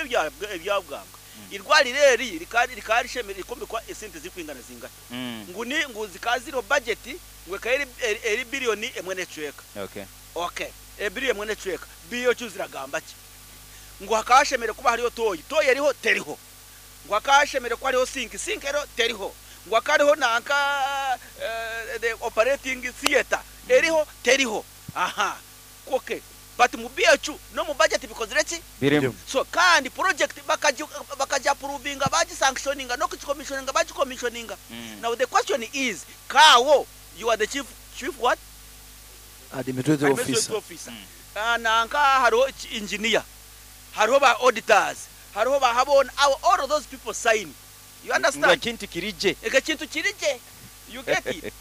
Ebyabwanga irwariro eri rikaba rishemere rikombekwa esente zirikwingana zingahi? Ngu ni ngu zikaba ziriho budget ngu ekaba eri billion 1 n'ekicweka. Okay, e billion 1 n'ekicweka, BOQ ziragamba ki? Ngu hakaba hashemere kuba hariho toyi, toyi eriho teriho. Ngu hakaba hashemere kuba hariho sink, sink eriho teriho. Ngu hakaba hariho nanka the operating theatre, eriho teriho. Aha, okay, but mu BOQ n'omu budget bikozire ki? Birimu. So kandi project bakagi approvinga, bagisanctioninga, n'okugicommissioninga bagicommissioninga. Now the question is, kaawo you are the chief what? Administrative administrative officer. Officer. Nanka hariho engineer, hariho ba auditors, hariho ba habona abo, all of those people sign. You Ngu understand? Ekintu kirije. Eko ekintu kirije. You get it?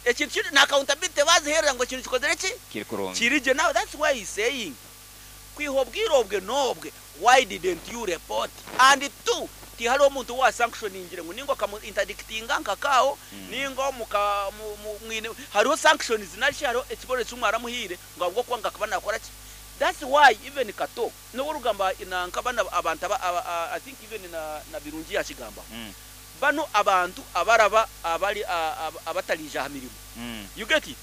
Ekintu kiri na accountability baziherera ngu ekintu kikozire ki? Kiri kurungi. Kirije. Now that's why he's saying kwiha obwire obwe n'obwe, why didn't you report? And two, tihariho omuntu wa sanctioningire ngu ninga okamu interdictinga nkakaawo, ninga omuka mwine hariho sanctions narishi hariho ekibonerezo kimwaramuhiire ngu ahabw'okuba ngu akaba nakora ki? That's why even Kato n'obu orikugamba nanka bana abantu aba, I think even na Birungi yakigambaho, bano abantu abaraba abari abatariija aha mirimo. You get it?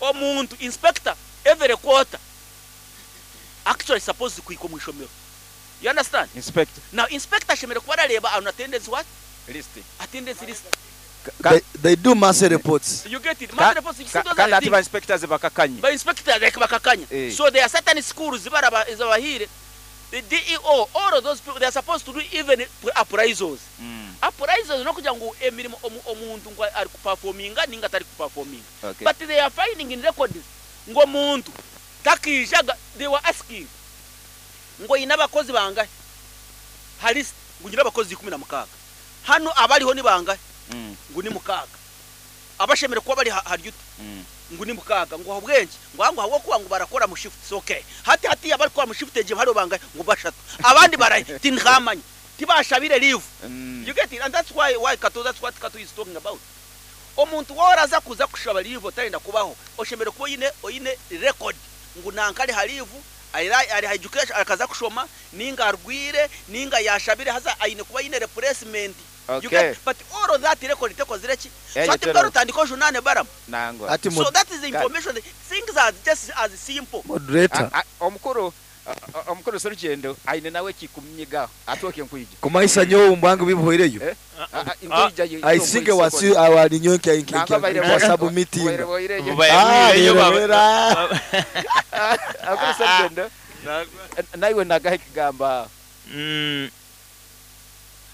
Omuntu inspector every quarter actually supposed kuhika omu ishomero. You understand? Inspector. Now inspector ashemereire kuba arareeba on attendance what? List. Attendance list. They do mass reports. You get it? Mass reports, you see, those Kandi are the ati things. Ba inspectors bakakanye. Ba inspector like bakakanya. So there are certain schools baraba ezabahire the DEO, all of those people, they are supposed to do even appraisals. Appraisals nokugira ngu emirimo omuntu ngu ari kuperforminga ninga atari kuperforminga. But they are finding in records ngu omuntu takiijaga. They were asking ngu oyine abakozi bangahe ha list? Ngu nyine abakozi 16 hano. Abariho ni bangahe? Ngu ni mukaaga. Abashemere kuba bari hari uti? Ngu ni mukaaga. Ngu ahabwenki? Ngu aha, ngu ahabwokuba ngu barakora mu shifts. Okay, hati hati abari kukora mu shift egyo hariho bangahe? Ngu bashatu. Abandi barahe? Tinkamanya, tibashabire leave. You get it? And that's why Kato, that's what Kato is talking about. Omuntu woraza kuza kushaba leave otarenda kubaho, oshemere kuba oyine record ngu nanka ari ha leave, ari ha education, akaza kushoma, ninga arwire, ninga yashabire, haza ayine kuba ayine replacement. You get? But all of that record tekozire ki? So ati mbaro tandiko junane baramu. Nangwa. Ati So that is the information. Things are just as simple. Moderator. Omukuru Serugendo aine nawe kikumnyiga atwoke nkwija. Kumaisa nyowe mbwangu bibuhwireyo. Eh? Nkwija. I think wasi awali nyowe Nangwa nka submitting. Baire. Ah, rero. Akuru Serugendo, naiwe nagahe kigamba.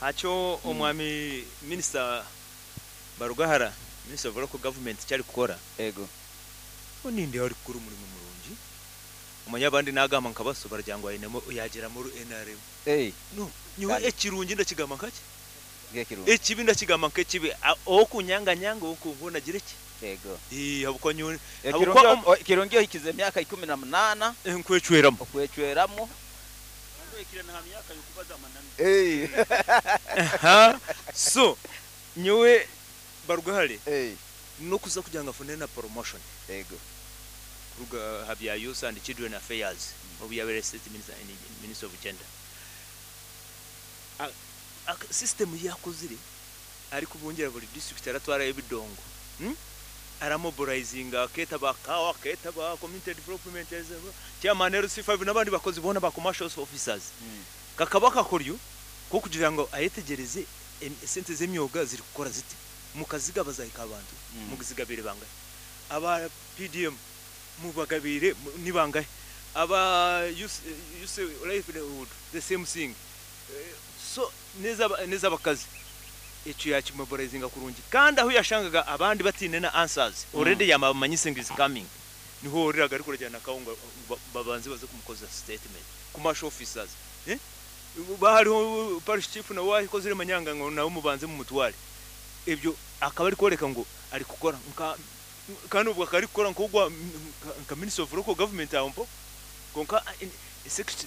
Hakyo omwami Minisita Barugahara, Minister of Local Government, kyari kukora, oninde ari kukora omurimo murungi. Omanya abandi nagamba nkabaso baragira ngo ainemo yagira muri NRM. No nyowe ekirungi ndakigamba nkaki? Ngekirungi. Ekibi ndakigamba nkekibi. Okunyanganyanga okunkunda gira ki? Habwokuba nyowe Ekirungi ohikize emyaka 18. Nkwecweramu. Okwecweramu. Aha. So nyowe Barugahare nokuza kugira ngo afune na promotion kuruga ha bya Youth and Children Affairs, obu yabaire state minister, Minister of Gender. System yakozire ari kubungira buri district, aratwarayo ebidongo, Aramobilizinga, aketa ba kawa, aketa ba community development chairman, LC5 n'abandi bakozi bona ba commercial officers. Kakaba kakoryo ko kugira ngo ayetegereze esente z'emyoga ziri kukora ziti, mukaziga bazahika abantu, mugizigabire bangahe? Aba PDM mubagabire ni bangahe? Aba youth livelihood, the same thing. So nez'abakazi ekyo yakimobilizinga kurungi, kandi aho yashangaga abandi batine na answers, already yamamanyise ngo is coming, niho oriraga ari kurajyana kawunga babanze baze kumukoza statement. Commercial officers, bahariho parish chief nawe wakozire manyanga ngo nawe mubanze mumutware. Ebyo akaba ari kworeka ngo ari kukora nka, kandi ubwo akaba ari kukora nk'ogwa nka Minister of Local Government aho mpo konka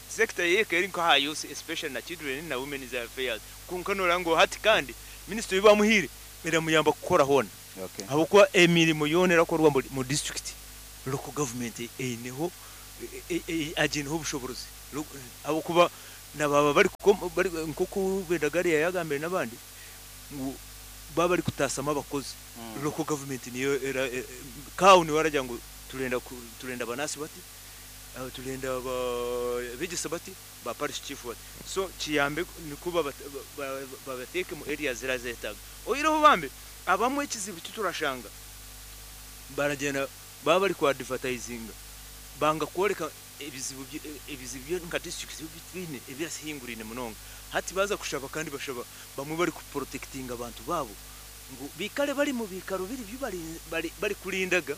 sector yeke eri nka youth especially na children na women affairs. Konka nora ngo hati kandi minister bamuhire iramuyamba kukora hona, habwokuba emirimo yoona erakorwa mu district, local government eineho agineho obushoborozi, habwokuba Nababa bari bari nkoku Bendagari yayagambire n'abandi ngu baba bari kutasama abakozi. Local government niyo era kawo ni waragira ngo turenda turenda abanasi bati, turenda abegesa bati, ba parish chief bati, so kiyambe niko babateke mu area zirazetaga. Oyireho bambe abamwe ekizibu kiturashanga baragenda baba bari ku advertisinga banga kworeka ebizibu ebizibu byo nka district bitwine ebyasihingurine munonga. Hati baza kushaba kandi bashaba bamwe bari kuprotectinga abantu babo ngu bikale bari mu bikaro biri byo bari kulindaga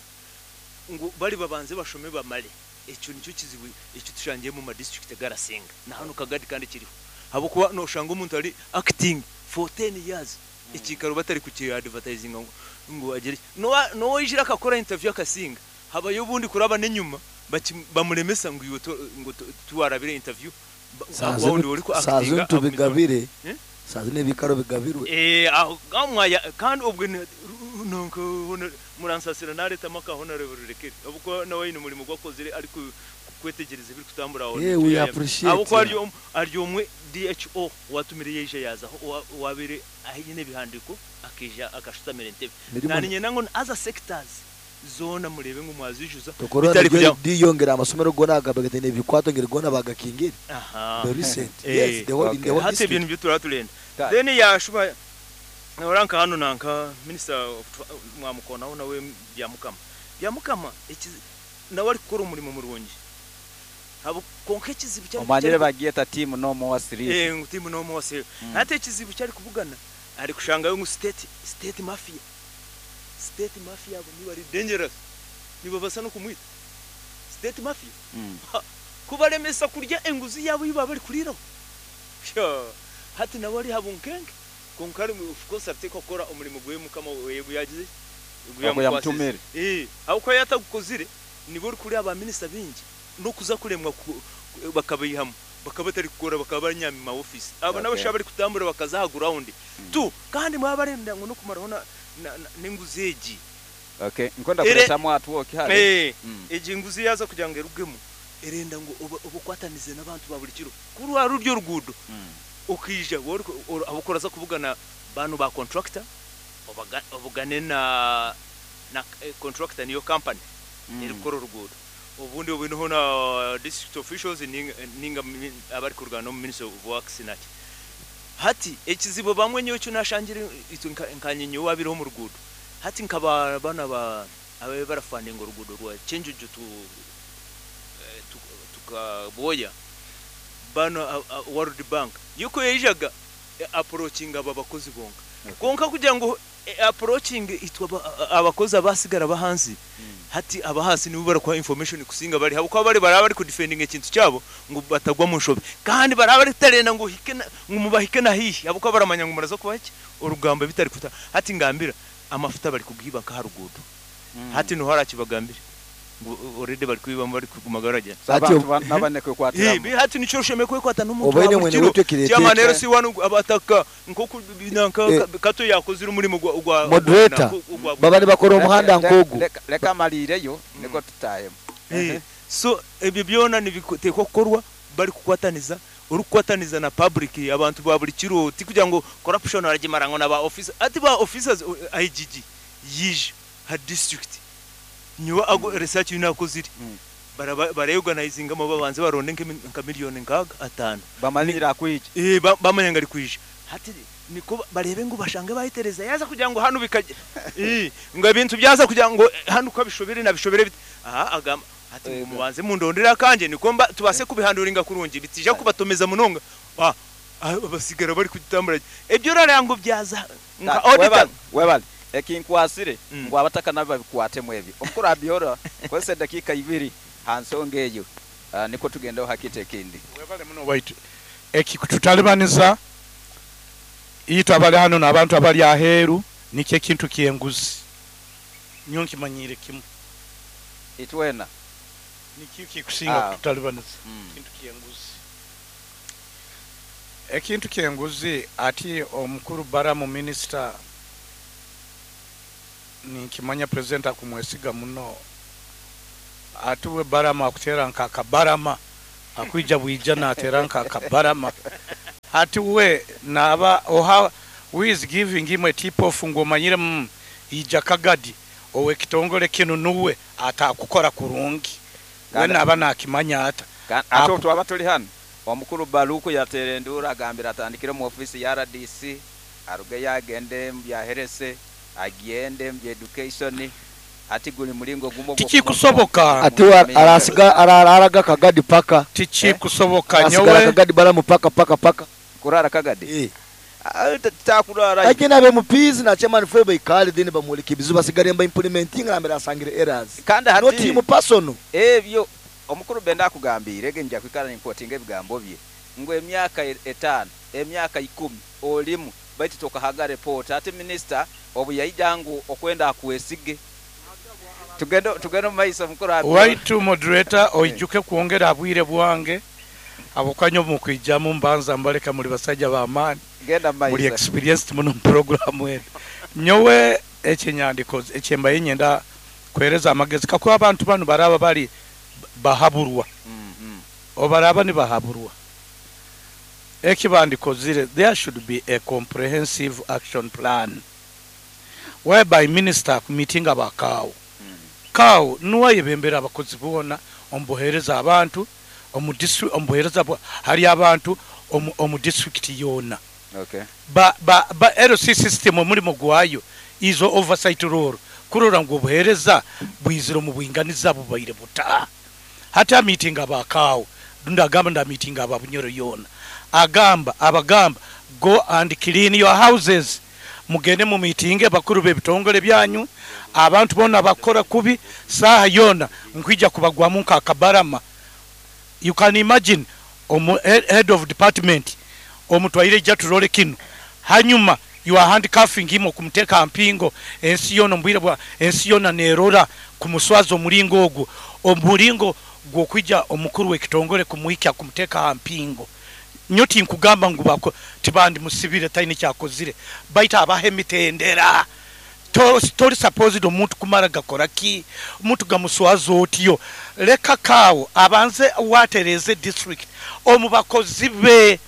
ngu bari babanze bashome bamale. Ekyo nicyo kizibu ekyo tushangiye mu ma district garasinga na hano Kagadi kandi kiriho, habwokuba noshanga omuntu ari acting for 10 years ekikaro batari kuki advertising ngo agere nowijira akakora interview akasinga, habayo ubundi kuraba n'inyuma bamuremesa ngo iwe ngo tuwarabire interview wundi uri ku Saa actinga zino tubigabire. Eh? Saa zino ebikaro bigabirwe. Aho gamwaya kandi ubwo nonko muransasira nareta maka honorable Rurekere, ubwo nawe yine umurimo gwakozire ari kwetegereza ibiri kutambura aho. Yeah, we appreciate. Abo ko ari umwe DHO watumiriye yije yazaho wabire ahinyene bihandiko akija akashutamira entebe. Mirimo Nani nango other sectors zona murebe ngo mwazijuza Tokora bitari niryo kujya diyongera amasomero gona agabagatene ebikwato ngeri gona bagakingire. Aha. The recent. Yes, the whole in the whole Hati district. ibintu byo turaturenda. Ta- Then yashuba oranka hano nanka minister of mwamukonaho nawe Byamukama. Byamukama nawe ari gukora umurimo murungi. Habo konka ekizibu cyari Omanyire bagiye ta team no more sleep. Ngo team no more sleep. Hati ekizibu cyari kuvugana ari kushangayo ngo state mafia. State mafia abo niba ari dangerous. Niba basa no kumwita state mafia. Kubaremesa kurya enguzi yabo yiba bari kuriraho. Hati nawe ari habunkenge. Konka ari of course afite kokora umurimo gwe mukama yego yagize. Aho yamutumire. Aho ko yatagukozire nibo uri kuri aba minister bingi no kuza kuremwa bakabihamo bakaba batari gukora bakaba banyami ma office. Abo nabo bari kutambura bakazaha ground. Tu kandi mwabarenda ngo no kumaraho na n'inguzi egi. Okay, nkonda kuleta mwatu woki hale. Egi nguzi yaza kugira ngo erugemo erenda ngo obukwatanize n'abantu ba buri kiro. Kuri wa ruryo rugudo. Ukija abukora za kuvugana bano ba contractor obugane na contractor niyo company erikora urugudo. Ubundi ubinoho na district officials ninga abari kurwana no Minister of Works naki. Hati ekizibo bamwe nyo cyo nashangira nkanyinyo wabiriho mu rugudo. Hati nkaba bana ba abe barafandinga urugudo rwa Chenjuju tukaboya bano World Bank yuko yijaga approaching aba bakozi bonka. Konka kugira ngo approaching itwa abakozi abasigara bahanzi. Hati abahasi nibo barakwa information kusinga bari habo ko bari baraba bari ku defending ikintu cyabo ngo batagwa mu nshobe kandi baraba bari tarena ngo hike ngo mubahike na hihi abo ko baramanya ngo murazo kuba iki urugamba bitari kuta. Hati ngambira amafuta bari kugiba ka harugudo. Hati no harakibagambira ngo already bari kubiba bari kugumagaraje. Hati nabane kwekwatira. Hati nico sheme kwekwata n'umuntu Obaine mwene wetekire. Cyama rero si wanu abataka nko binanka kato yakozira umurimo gwa moderator babane bakora umuhanda nkogu. Leka malireyo niko tutayemo. So ebyo byona nibiteko korwa bari kukwataniza uri kukwataniza na public abantu ba buri kiro ti kugira ngo corruption aragimarango na ba officer ati ba officers IGG yije ha district nyuwa ago research yunakozire barayorganizinga mo babanze baronde nka miliyoni nkaga atanu bamanira kwije bamanya ngari kwije. Hati niko barebe ngo bashange bahitereza yaza kugira ngo hano bikajya ngo ibintu byaza kugira ngo hano uko bishobere na bishobere aha agamba hati mubanze mundondera kanje niko mba tubase kubihanduringa kurungi bitija kubatomeza munonga basigara bari kugitambura ebyo rarango byaza nka auditor webale ekinkwasire ngo abataka nabo babikwatemu ebyo omukuru abyora kwese dakika 2 hansonga eyo niko tugendaho hakite kindi webale muno waitu ekikututalibaniza itwe abali hano n'abantu abali aheeru nikyo ekintu kyenguzi nyo nkimanyire kimu itwena nikyo kikusinga kututalibaniza kintu kyenguzi ekintu kyenguzi ati omukuru Baramu minister ninkimanya president akumwesiga muno atuwe Barama akutera nkaka Barama Akwija bwija natera nka kabarama. Hati we naba oha who is giving him a tip off ngo omanyire ija Kagadi owe kitongole kinu nuwe atakukora kurungi. We naba nakimanya ata. Ate twaba tuli hano omukuru Baluku yateera enduuru agambira atandikire mu office ya RDC arugeyo agende mu bya health, agende mu bya education, ati guli mulingo gumo Tikikusoboka. Ati arasiga araraga Kagadi paka. Tikikusoboka Asigara nyowe. Kagadi baramu paka paka paka. Kurara Kagadi? Takurara. Lakini abe MPs na chairman fwe ikali then bamulika ibizu basigare mba implementing na mbere asangire errors. Kandi hati not him personal. Ebyo omukuru Benda akugambire ge nja kwikara nimpotinga ebigambo bye. Ngo emyaka 5, emyaka 10 olimu baitu tokahaga report ati minister obu yaija ngu okwenda akwesige. Tugendo maiso mukuru abi. Waitu moderator oijuke kuongera abwire bwange. Abokanyo mukwijamu mbanza mbaleka muri basajja ba amani. Genda maiso. Muri experienced muno program eno. Nyowe ekinyandiko ekyemba yenyenda kwereza amagezi kakuba abantu bano baraba bali bahaburwa. Obaraba ni bahaburwa. Ekibandiko zire there should be a comprehensive action plan whereby minister meeting abakawo. Kawo nuwa yebembera abakozi bona ombohereza abantu omu district ombohereza hari abantu omu district yona. Okay. Ba LC system omulimo gwayo izo oversight role kurora ngo obuhereza bwiziro mu bwinganiza bubaire buta. Hata meeting abakawo ndunda agamba nda meeting aba Bunyoro yona. Agamba abagamba go and clean your houses. Mugende mu meeting bakuru b'ebitongole byanyu abantu bona bakora kubi saha yona nkwija kubagwamu nka kabarama. You can imagine omu head of department omutwaire jatulole kino hanyuma you are handcuffing him okumteka mpingo ensi yona mbwire bwa ensi yona nerora kumuswaza omulingo ogwo omulingo gwokwija omukuru w'ekitongole kumuhikya kumteka mpingo. Nyoti nkugamba ngu bako tibandi musibire tayini kyakozire baita abahe mitendera tori supposed omuntu kumara gakora ki omuntu gamuswaza otyo leka kawo abanze watereze district omubakozi be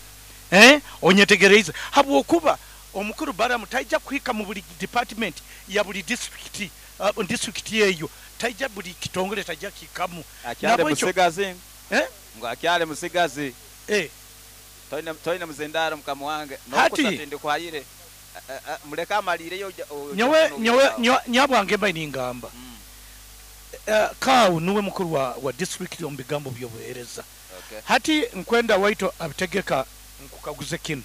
onyetegereze habwokuba omukuru Baramu taija kuhika mu buli department ya buli district district yeyo taija buli kitongole taija kikamu akyale musigazi ngo akyale musigazi toine muzindaro mkamuwange nokusatinde kwayire muleka amalire yo nyowe nyabwange mba ningamba kawu nuwe mukuru wa district omubigambo byobuhereza. Hati nkwenda waito abitegeka nkukaguze kino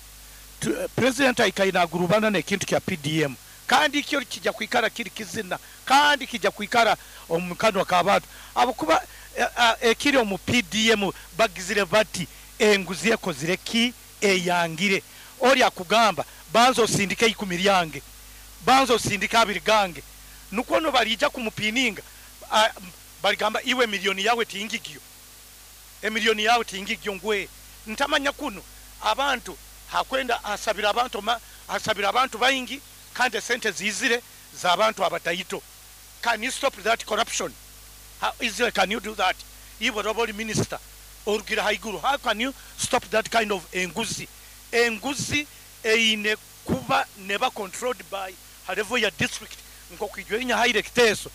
president aikainagurubana nekintu kya PDM kandi kyo kijja kwikara kiri kizina kandi kijja kwikara omukano kabantu abukuba ekiri omu PDM bagizire bati enguzi ekozire ki eyangire oli akugamba banzo osindike 10 lyange banzo osindike 2 gange nukono balija kumupininga baligamba iwe milioni yawe tingigyo emilioni yawe tingigyo ngwe ntamanya kuno abantu hakwenda asabira abantu asabira abantu baingi kandi sente zizire za abantu abataito. Can you stop that corruption? How easily can you do that? Iwe roboli minister orugira haiguru, how can you stop that kind of enguzi? Enguzi eine kuba never controlled by level ya district nkokwijwe haire kiteso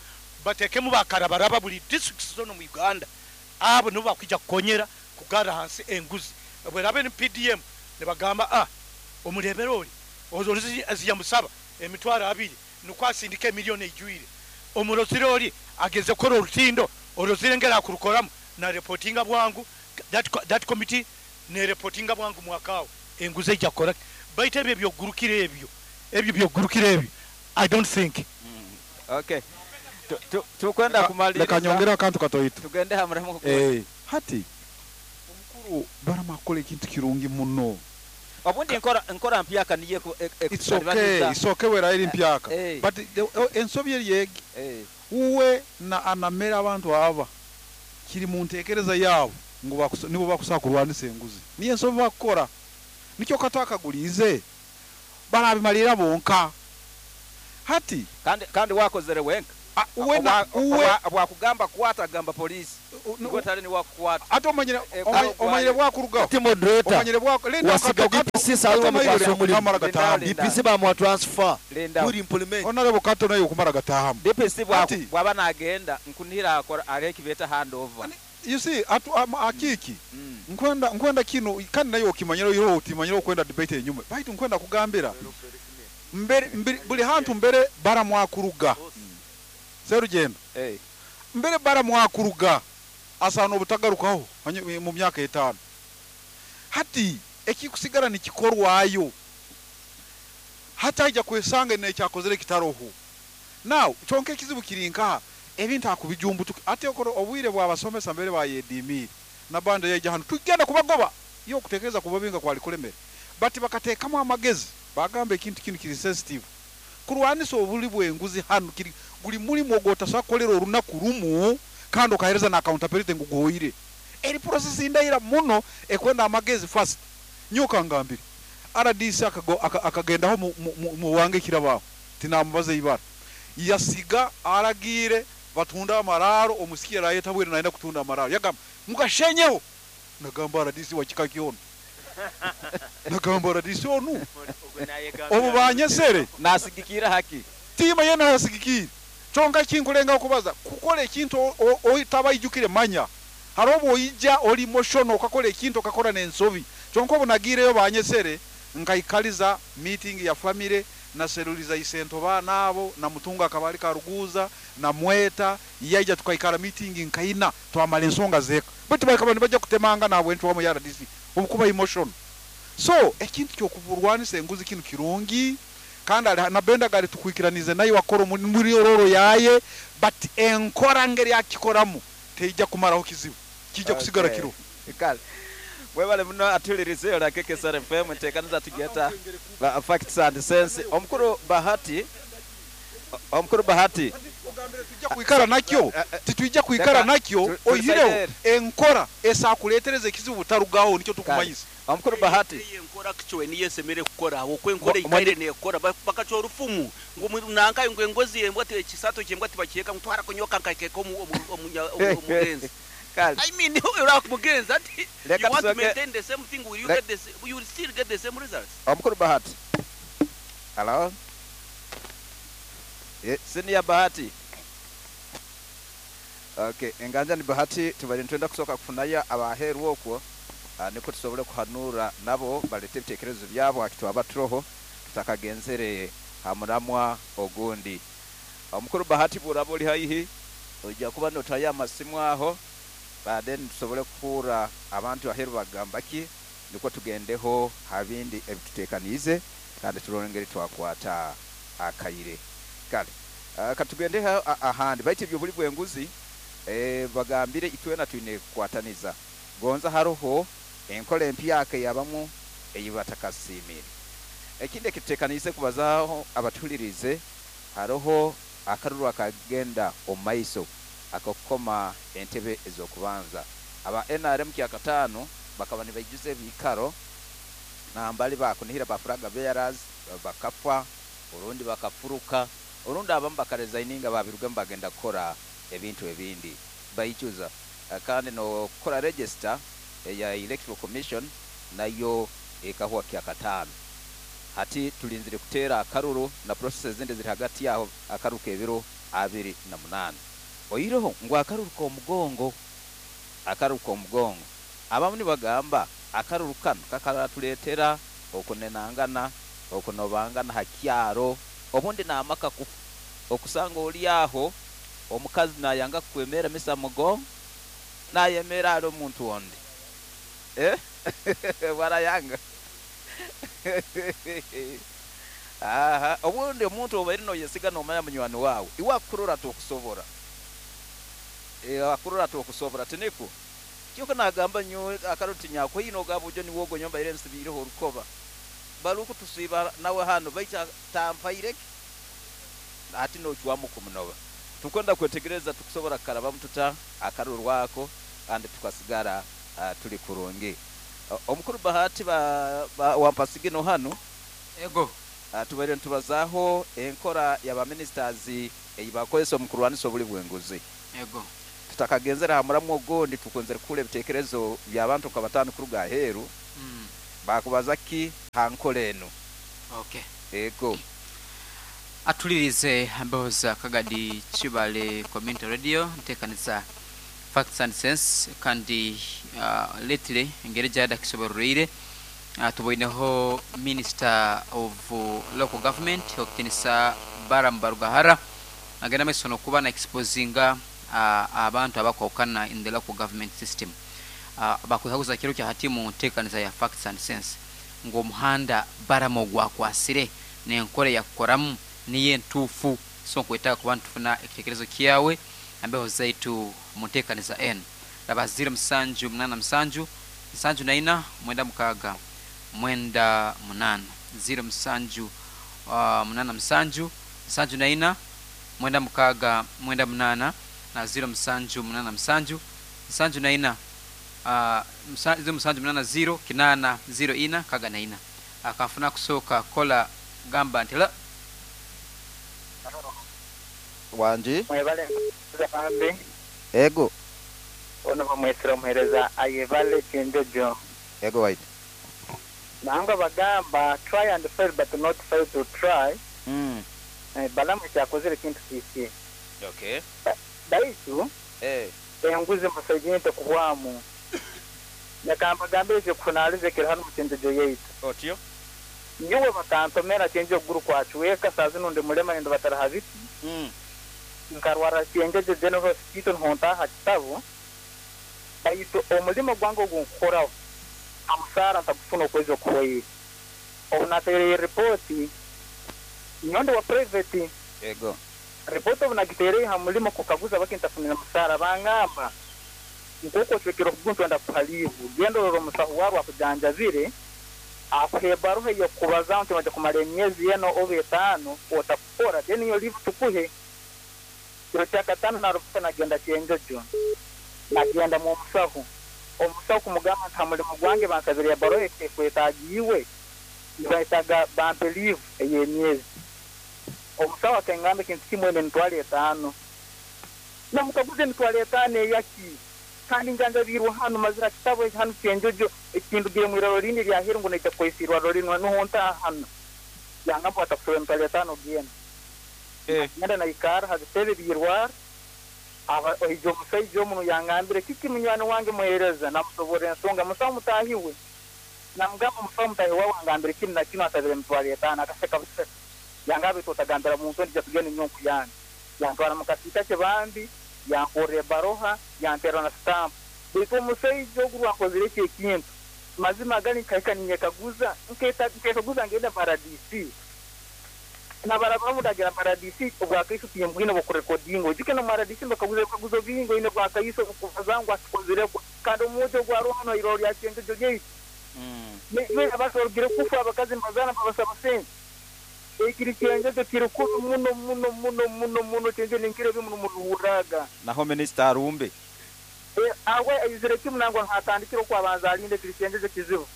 batekemu bakarabaraba buli district zono mu Uganda abo nibo bakwija kukonyera kugara hansi enguzi bwerabe ni PDM ne bagamba omurebero oli ozolizi aziyamusaba emitwaro 2 nukwasindika milioni ejwire omurozire oli ageze kora orutindo orozire ngera kurukoramu na reportinga bwangu that committee ne reportinga bwangu mwakao enguze jakora baite ebyo byogurukire ebyo byogurukire ebyo I don't think. Okay. Tukwenda kumaliriza leka nyongera akantu katoito tugende hamuremu hati omukuru baramakole ekintu kirungi muno obundi nkora mpyaka niye it's okay, it's okay wera eri mpyaka but ensobi eri yegi uwe na anamera abantu aba kiri mu ntekereza yabo ngo nibo bakusa kurwanisa enguzi niye ensobi bakora nikyo katakagulize barabimalira bonka hati kandi wakozere wenka uwe na uwe bwakugamba kwata gamba polisi Gwe tali niwakukwata. Ate omanyire omanyire bwakurugaho. Ati moderator. Omanyire bwako linda. Wasiga DPC sawa bamukwasa omulimu. Kamara gatahamu. Linda. DPC bamuwa transfer. Linda. Kuri implement. Honorable Kato nayo kumara gatahamu. DPC Ati. bwaba nagenda nkunira akora areki beta handover. You see, atu akiki nkwenda kino kandi nayo okimanyira yo otimanyira okwenda debate enyuma baitu nkwenda kugambira mbere buli hantu mbere baramwakuruga serugendo mbere baramwakuruga asana obutagarukaho mu myaka 5 hati ekikusigara nikikorwayo hataija kwesanga nekyakozere kitaroho. Now kyonka ekizibu kiri nkaha ebintu akubijumbutuka ate okoro obwire bwabasomesa mbere bayedimire nabanda yaija hano tugenda kubagoba yo kutekereza kubabinga kwali kulemere bati bakateekamu amagezi bagamba ekintu kino kiri sensitive kurwanisa obuli bwenguzi hano kiri guli mulimu ogwotasakolera olunaku lumu kandi okahereza na accountability ngu goyire eri process indaira muno ekwenda amagezi fast. Nyoka ngambire RDC akagendaho mu wange kirabaho tinamubaze ibara yasiga aragire batunda amararo omusikia rayeta bwire naenda kutunda amararo yagamba mukashenyeho nagamba RDC wakika kyono nagamba RDC onu obu banyesere nasigikira haki tima yena nasigikira chonka kinkulenga okubaza kukola ekintu oitabayijukire manya harobo oija oli motion okakola ekintu okakora nensobi chonka obunagireyo banyesere nkaikaliza meeting ya family na seruliza isento bana abo na mutunga akabali karuguza na mweta yaija tukaikara meeting nkaina twamala ensonga zeka bati bakaba nibajja kutemanga nabwe ntwa mu RDC obukuba emotion. So ekintu kyokuburwanisa enguzi kinu kirungi kandi na benda gari tukwikiranize nayo wakoro muri ororo yaye but enkora ngeri yakikoramu teija kumaraho kizibu kijja kusigara kiro. Kale webale muno atulirize la KKSR FM ntekaniza tugeta facts and sense. Omukuru Bahati tujja kuikara nakyo titujja kuikara nakyo oyireho enkora esakuletereza ekizibu butarugaho nicyo tukumanyisa. Omukuru Bahati enkora kichwe niye semere kukora okwenkora ikaire nekora bakacho orufumu ngu nanka ngo engozi embwa te ekisato kyembwa tibakiyeka mutwara kunyoka nkakeka omugenzi. I mean, you mugenzi ati you want to maintain the same thing, will you get this, you will still get the same results. Omukuru Bahati. Hello? Senior Bahati. Okay, enganja ni Bahati tubali ntwenda kusoka kufunaya abaheru okwo niko tusobole kuhanura nabo balete ebitekerezo byabo akitwaba turoho tutakagenzere hamuramwa ogundi. Omukuru Bahati burabo oli haihi ojja kuba notaya amasimu aho baden tusobole kuhura abantu aheru bagambaki niko tugendeho habindi ebitutekanize kandi turongere twakwata akaire. Kale katugendeho ahandi baite ibyo buli bwenguzi bagambire itwena twine kukwataniza gonza haroho enkola empyaka yabamu eyibatakasimire. Ekindi ekitutekanize kubazaho abatulirize haroho akaruru akagenda omaiso akokoma entebe ezokubanza aba NRM kyakatano bakaba nibaijuze ebikaro nambali bakunihira bafuraga bearers bakafa urundi bakafuruka urundi abamu bakaresigninga babiruga bagenda kukora ebintu ebindi baijuza. Kandi no kukora register ya Electoral Commission nayo ekahwa kyakatano. Hati tulinzire kutera akaruru na processes zindi ziri hagati yaho akaruru kebiro 28. Oyiroho ngo akaruru ko mugongo abamu nibagamba akaruru kano kakaratuletera okunenangana okunobangana hakyaro obundi namaka kufu okusanga oli aho omukazi nayanga kwemera misa mugongo nayemera ari omuntu onde warayanga. Aha obundi omuntu obaire noyesiga nomanya munywani wawe iwakurora tokusobora akurora tokusobora tiniko kyoko nagamba nyo akaruti nyako hino gabujo ni wogo nyomba ire nsibireho orukoba baruko tusiba nawe hano baita tampaireke ati nochwamu kumunoba. Tukwenda kwetegereza tukusobora karaba mtuta akaruru wako kandi tukasigara tuli kurungi. Omukuru Bahati wampasigino hano ego tubaire ntubazaho enkora y'aba ministers eyibakozesa omukurwanisa obuli bwenguzi. Ego. Tutakagenzere ha muramu ogundi, tukunzire kuhurra ebiteekerezo by'abantu nka bataano kuruga aheeru, bakubaza ki ha nkora enu? Okay. Ego. Atulirize mbeho za Kagadi Kibale Community Radio, ntekaniza Facts and Sense, kandi lately engeri gyada kisoborreire, tuboineho Minister of Local Government okutinisa Balaam Barugahara agenda maiso nokuba na exposinga abantu abakwahukana in the local government system. Bakwekaguza kiro kya hati mu ntekaniza ya Facts and Sense ngu omuhanda Balaam ogwakwasire n'enkora eyakukoramu niyo entuufu. So nkwetaaga kuba nitufuna ekitekerezo kyawe ambeho zaitu mu ntekaniza enu. Raba 0787 74 96 98, 07 87 74 96 98 na 0787 74 0780 8 04 64. Akanfuna kusooka kola gamba nti la Wangi. Mwebale bambi. Ego. Ono bamwesera omuhereza ayebale Kyenjojo. Ego waitu. Nangwa bagamba try and fail but not fail to try. Balamu kyakozere kintu kiki. Okay. Baitu enguzi musajente kuhwamu. Yakamba gambire kunalize kiri hano mu Kyenjojo yaitu. Otyo. Nyowe bakantomera Kyenjojo guru kwachweka saa zino ndi mulema ndi bataraha biti. Nkarwara Kyenjojo General Hospital honta kitabu. Baitu omulimo gwange ogunkukoraho amusara ntakufuna okwezi okuhoire. Obu nateereye ripoti nyondo wa private. Ego. Ripoti obu nagiteereye ha mulimo kukaguza bakintafunira musara bangamba nk'uko ocwekere okuguntu enda kuha liivu genda orora omusaho waabo akujanjabire akuha ebaruha ey'okukubaza nti oija kumara emyezi ena oba 5 otakukora then iyo liivu tukuhe. Kiro kya katano narufuka nagenda Kyenjojo nagenda mu musaho. Omusaho kumugamba nti ha mulimo gwange bansabire ebaruha ekwetaagiiwe nibaitaga bampe liivu ey'emyezi. Omusaho akangamba ekintu kimwe emitwaro 5. Namukaguza emitwaro 5 eyaki? Kandi njanjabirwe hano mazira kitabo hano Kyenjojo ekindugire mu iraro rindi ryaheru ngu naija kukozesa irwaro rinu nuho ntaha hano. Yangamba atakusaba emitwaro 5 genda. Ngenda naikara ha bitebe by'irwaro. Oija omusaija omuno yangambire kiki munywani wange muhereza namusoborra ensonga musaho mutahiwe. Namugamba omusaho mutahi wawe angambire kinu na kinu asabire emitwaro 5 akaseka buseka. Yangamba itwe otagambira muntu ndija tugenda nyonku yange. Yantwara mu kasiika kye bambi yankorra ebaroha yanteera na sitampu. Baitu omusaija ogu rwakozire eki ekintu mazima gali nkahika ninyekaguza nkekaguza ngenda paradisi. Nabarabamu ndagira paradisi obwakaiso timbwine bokurekodinga ojuke no paradisi bakaguza ebikaguzo bingi oine bwakaiso okubaza ngu akikozireko kandi omujo ogwa hano iraro lya Kyenjojo lyaitu. Abasorogire kufa abakazi nibazana babasaba sente. Ekiri Kyenjojo kiri kubi muno muno muno muno muno Kyenjojo ninkiro ebi muno muruhuraga. Naho minisita arumbe. Awe aizire kimu nangwa hatandikire okwabanza alinde ekiri Kyenjojo kizibu.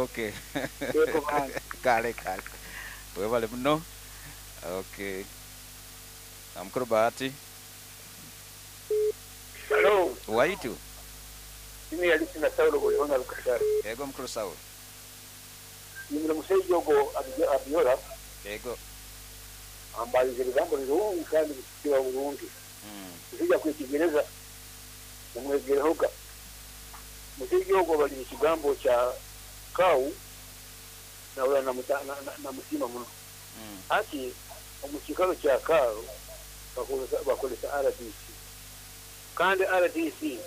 Okay. Yego bana. Kale kale. Webale muno. Okay. Amukuru Bahati. Hello. Waitu. Mimi yalisi na Saulo golihona Lukashara. Ego mukuru Saulo. Nimire musajja ogwo Abiola. Ego. Ambalize ebigambo birungi kandi bisikiwa bulungi. Musajja kwetegereza namwegerehoga. Musajja ogwo bali ekigambo kya kau nawula namusiima muno. Ati omu kiikaro kya kau bakozesa RDC. Kandi RDC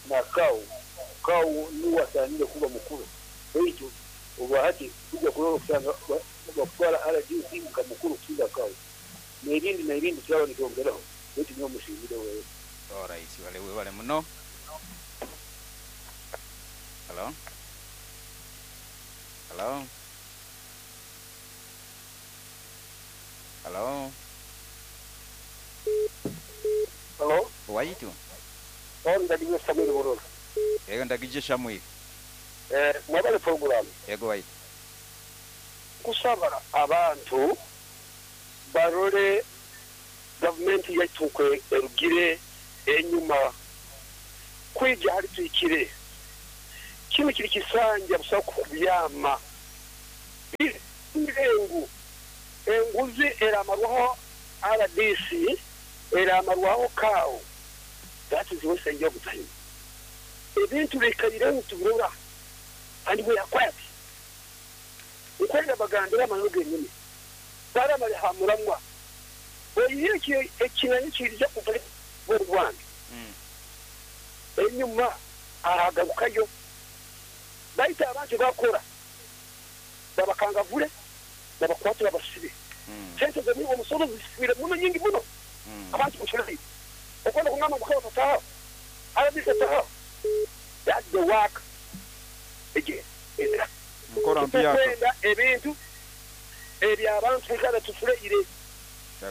na kau kau niwe asaanire kuba mukuru. Baitu obu hati tujja kurora okusanga bakutwara RDC nka mukuru kusinga kau. N'ebindi turaba nitwongeraho baitu niwe mushimire wewe. Alright, wale wale muno. Hello? Hello? Hello? Hello? Waitu? Ndagije Samuel Buroro. Yego ndagije Samuel. Mwabale program. Yego waitu. Kusaba abantu barore gavumenti yaitu erugire enyuma Kwija hali tuhikire, kinu kiri kisanja busaho kubyama. Ngu enguzi eramarwaho RDC, eramarwaho CAO. That is wasting of time. Ebintu bikaireho tubirora and we are quiet. Nkwenda bagambire amano genyini. Baramale ha muramwa. Oyihire ekinani kirija kuva mu Rwanda. Enyuma aragarukayo. Baita abantu bakora. Babakangavule, babakwatira basibe. Sente z'omulimu omusoro zifire muno nyingi muno. Abantu mushirayi. Okwenda kungamba mukaba tataha. RDC tataha. That's the work. Again. Nkora mpyaka. Tukwenda ebintu ebyabantu bikaba tufureire.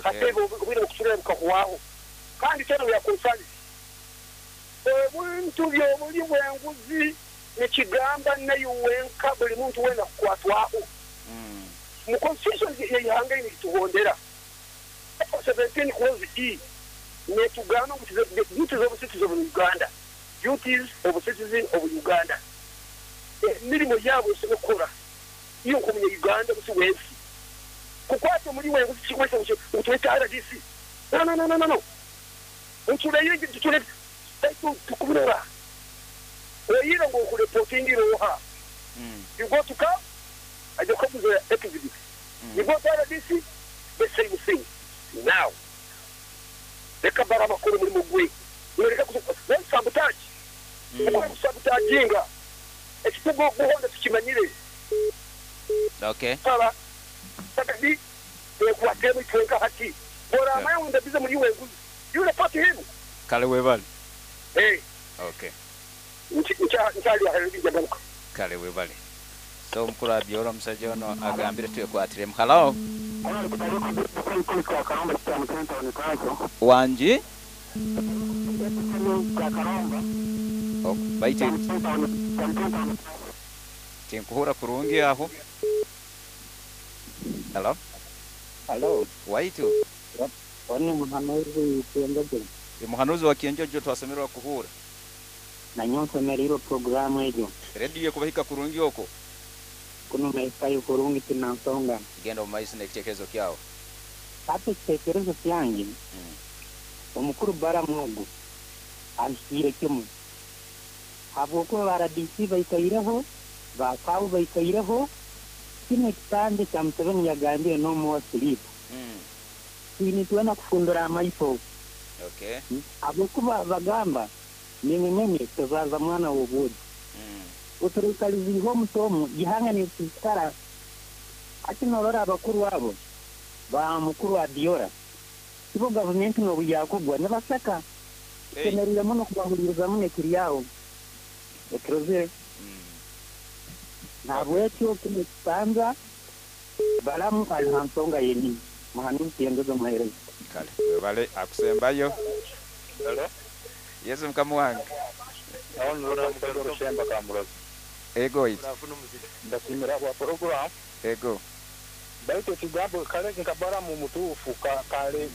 Katebe obwire okusurira bukakuwaho. Kandi tena we are concerned. Ebintu by'obuli bw'enguzi nikigamba nayo wenka buli muntu wena kukwatwaho. Mu constitution y'ihanga nituhondera. 17 clause E netugamba ngu duties of citizens of Uganda. Duties of citizens of Uganda. Emirimu yabo esobola iyo nkomunye Uganda busi wensi. Kukwata muri wenguzi kikwesa utweta RDC. No no no no no. Utuleyo tutule tukubura. Oyira ngo kureporting roha. You go to CAO, I go to the exhibit. You go to RDC, the same thing. Now, reka barabakora muri mugwe. Reka kuzo sabotage. Kuko sabotaginga. Ekitugo guhonda tukimanyire. Okay. Sala. Sakadi ekwatemu itwenka hati. Bora amaye ndabize muri wenguzi. You report him. Kale webale. Eh. Okay. Nchali aheri. Kale webale. So mukuru abyora omusajja ono agambire twekwatiremu. Hello. Wanji? Oh, baite. Tinkuhura kurungi aho. Hello. Hello. Waitu. Wani muhanuzi Kienjojo. Muhanuzi wa Kienjojo twasemerwa kuhura. Na nyonso meriro programu ejo. Radio kubahika kurungi oko. Kuno maikayo kurungi tunansonga. Genda omu maiso n'ekitekerezo kyawe. Ate ekitekerezo kyange. Omukuru Baramu ahikire kimu. Habwokuba RDC baikaireho, ba CAO baikaireho, kino ekitande kya Museveni yagambire n'omuwa sleep. Nituwena kufundura amaiso. Okay. Habwokuba bagamba nimwe tuzaza mwana w'obuudi. Uturikaliziho omutomu gihanga nitukara ati norora abakuru abo ba mukuru Abiora ibo gavumenti n'obuyakugwa nibasaka kemerire muno kubahuliriza muno ekiryaho ekirozire. Nabwekyo kino kibanza Balamu ali ha nsonga yenyini muhanuzi Kienjojo muhereza. Kale webale akusembayo. Hello. Yesu mkamu wange. Ego it. Ndasimira bwa program. Ego. Baitu ekigambo kale nkabara mu mutuufu kale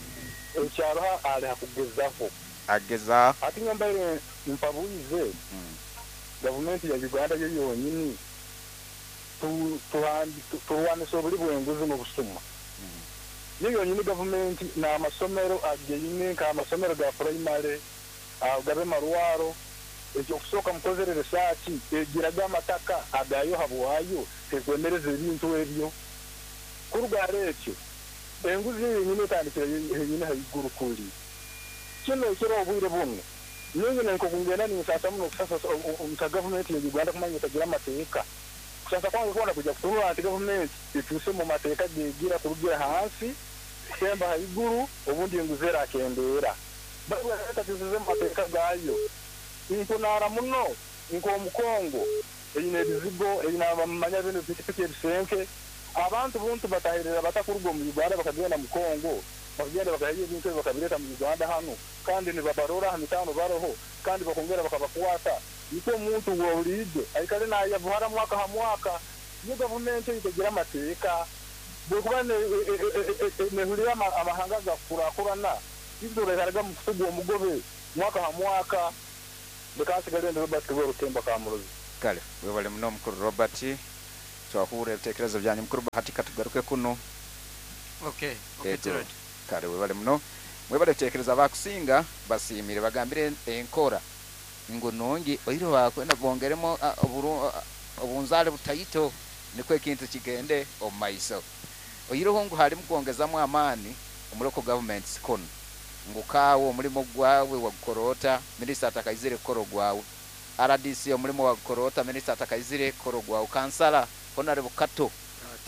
ekyaro ali hakugezaho. Ageza. Ati nyambaire mpabuize. Gavumenti ya Uganda yo yonyini turwanisa obuli bw'enguzi n'obusuma. Yo yonyini gavumenti n'amasomero ageine nk'amasomero ga primary agabe marwaro ekyo kusooka mukozere research egiraga amataka agayo habwayo tekwemereza ebintu ebyo kurugara ekyo enguzi yenyine etandikira yenyine haiguru kuli kino ekiro obwire bumwe nyine nkokungenda ninsasa muno kusasa nka gavumenti ya Uganda kumanya etagira amateeka kusasa kwange kubona kujja kutunula nti gavumenti etuuse mu mateeka gegira kurugira hansi semba haiguru obundi enguzi erakendeera batatuzize mu mateeka gayo nkunara muno nk'omukongo eyine ebizigo eyine abamanya bino pikipiki ebisenke abantu buntu batahirira batakuruga mu Uganda bakagenda mu Kongo bakagenda bakahiya ebintu ebyo bakabireta mu Uganda hano kandi nibabarora ha mitano baroho kandi bakongera bakabakwata niko omuntu wawulidde aikale nayavuhara mwaka ha mwaka niyo gavumenti itegira amateeka bwekuba nehulira amahanga gakurakurana ibyo mu kutugu omugobe mwaka ha mwaka. Leka nsigale ndi Robert Rwerutemba Kamuruzi. Kale webale muno mukuru Robert, twahurra ebitekerezo byanyu. Mukuru Bahati, katugaruke kuno. Okay, okay. Ego. Gerard. Kale webale muno, mwebale kutekereza. Bakusinga basiimire, bagambire enkora ngu nungi, oire bakwenda bongeremo obunzale butaito nikwo ekintu kigende omu maiso. Oireho ngu halimu kwongezamu amaani omu local governments kuno, ngu kaawe omulimo gwawe wagukora ota minisita atakaizire kukora ogwawe, RDC omulimo wagukora ota minisita atakaizire kukora ogwawe, kansala honorable Kato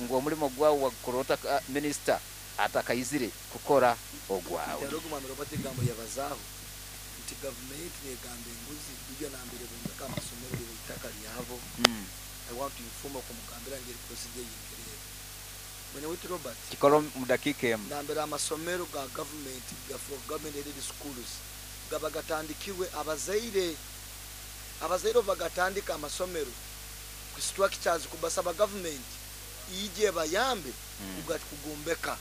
ngu omulimo gwawe wagukora ota minisita atakaizire kukora ogwawe. Nti mwami Robert egambo yabazaaho nti gavumenti negamba enguzi ibyo nambere bombeka amasomero liba itaka lyabo. I want to inform okumugambira ngeri procedure yingerere mwene wetu Robert. Kikoro mu dakiika emu. Nambere amasomero ga gavumenti ga for government aided schools gaba gatandikirwe abazaire. Abazaire obu bagatandika amasomero ku structures, kubasaba gavumenti ije bayambe kugombeka.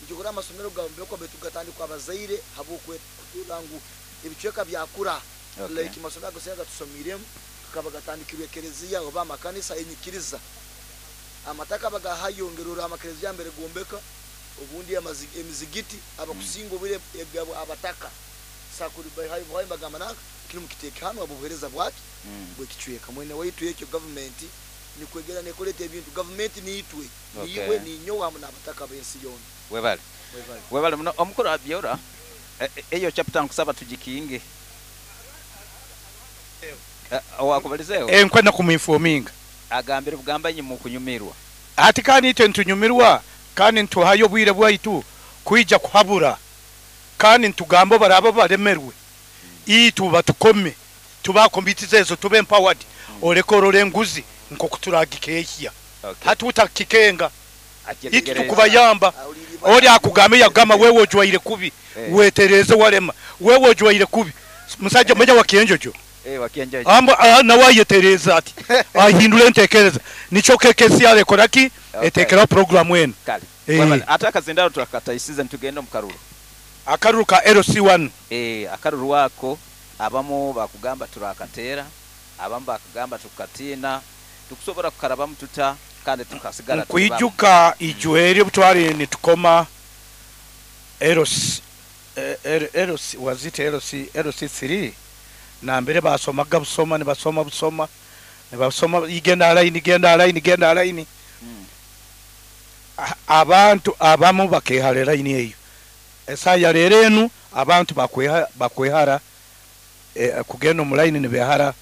Nikikora amasomero gaombekwa, betu gatandikwa abazaire habwokutura ngu ebicweka byakura. Like amasomero ago gatusomiremu kakaba gatandikirwe ekereziya oba amakanisa, enyikiriza amataka bagahayongerera amakereziya mbere gombeka, obundi emizigiti abakusinga obwire egabo abataka sakuri bahayo bagamba nanka kiri mukiteeke hano obuheereza bwaki bwekicweka. Mwene waitu, ekyo gavumenti nikwegera nekoleta ebintu. Gavumenti niitwe, niiwe, ninyowe hamu n'abataka b'ensi yoona. Webale. Webale. Webale muno omukuru Abyora. Eyo chapter nkusaba tugikinge. Wakubalizeeho. Enkwenda kumuinforminga. Agambire bugamba nyi mukunyumirwa. Ati kandi itwe nitunyumirwa, kandi nituhayo obwire bwaitu kwija kuhabura, kandi nitugamba baraba baremerwe itu batukome tubakombitiza ezo tube empowered, oleke orora enguzi nkoku turagikehya. Hati utakikenga itu. Akyetegereza. Tukubayamba oli akugambe yagamba wewe ojwaire kubi. Wetereze, walema wewe ojwaire kubi, musajja mmoja wa kienjojo. Wakienjojo. Amba nawe ayetereza ati ahindura entekereza, nikyo KKC arekoraki. Etekeraho programu eno. Kale. Webale. Ate akazindaro turakataisize, nitugenda omu karuru. Akaruru ka LC1. Akaruru ako abamu bakugamba turakatera, abamu bakugamba tukatiina, tukusobora kukarabamu tuta kandi tukasigara tuli bamu? Nkwijuka ijweri obutwari nitukoma LC, LC was it LC LC3, nambere basomaga busoma, nibasoma busoma, nibasoma igenda line, igenda line, igenda line. Abantu abamu bakehara line eyo. Esaya rero enu abantu bakwehara kugenda omu line, nibehara.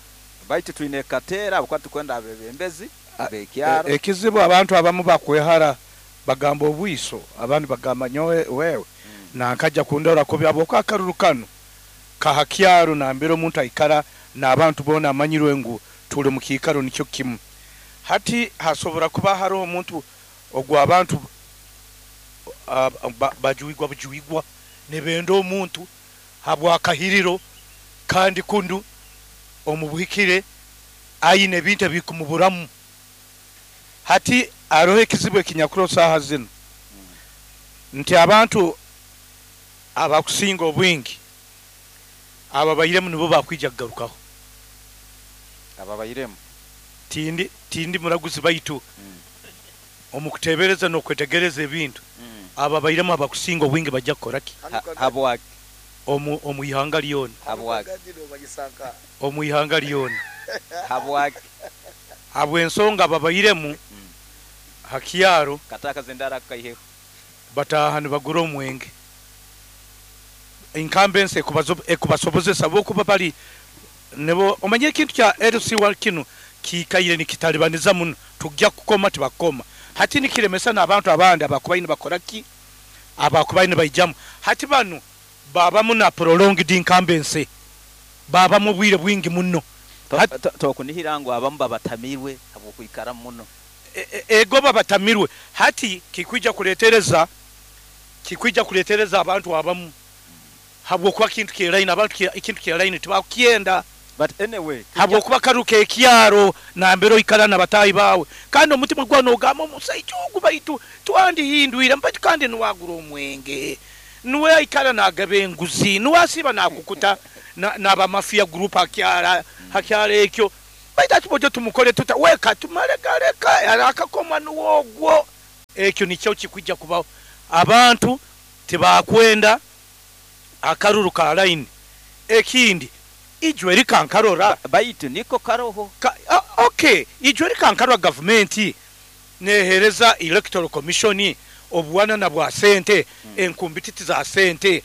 Baitu twine kateera abakuba tukwenda abebembezi bekyaro. Ekizibu abantu abamu bakwehara, bagamba obwiso, abandi bagamba nyowe wewe nankaja kundora kubi habwokuba akaruru kano kahakyaro nambere omuntu aikara n'abantu boona amanyirwe ngu tuli mu kiikaro nikyo kimu. Hati hasobora kuba hariho omuntu ogwo abantu bajuigwa bujuigwa nibenda omuntu habwakahiriro, kandi kundu omu buhikire ayine ebintu ebikumuburamu. Hati aroho ekizibu ekinyakuro saaha zino nti abantu abakusinga obwingi ababairemu nibo bakwija kugarukaho. Ababairemu. Tindi muraguzi, baitu omu kutebereza n'okwetegereza ebintu, ababairemu abakusinga obwingi bajja kukoraki. Habwaki? Omu ihanga lyona. Habwaki? Omu ihanga lyona. Habwaki? Habw'ensonga ababairemu hakyaro Kata akazindaro akaiheho. Bataaha nibagura omwenge, incumbents ekubasobozesa bokuba bali nibo. Omanye ekintu kya LC1 kino kiikaire nikitalibaniza muno, tujja kukoma tibakoma. Hati nikiremesa n'abantu abandi abakubaine bakora ki, abakubaine baijamu. Hati banu babamu na prolonged incumbency, babamu obwire bwingi muno. Tokunihira ngu abamu babatamirwe habwokwikara muno? Ego, babatamirwe. Hati kikwija kuletereza abantu abamu habwokuba kintu kyeraini, abantu ekintu kyeraini tibakukyenda. But anyway, habwokuba karuka ekyaro nambere oikara nabatahi bawe, kandi omutima gwawe nogamba omusaija ogu baitu twandihindwire, baitu kandi niwagura omwenge, niwe aikara nagaba enguzi, niwe asiba nakukuta. N'abamafia group hakyara hakyara ekyo. Baitu ati bojo tumukole tuta weka tumale galeka akakoma nuwo ogwo. Ekyo nikyo kikwijja kubaho. Abantu tibakwenda akaruru ka line. Ekindi ijwe rikankarora baitu niko karoho okay, ijwe rikankarora gavumenti nehereza electoral commission obuwanana bwa sente, enkumbititi za sente.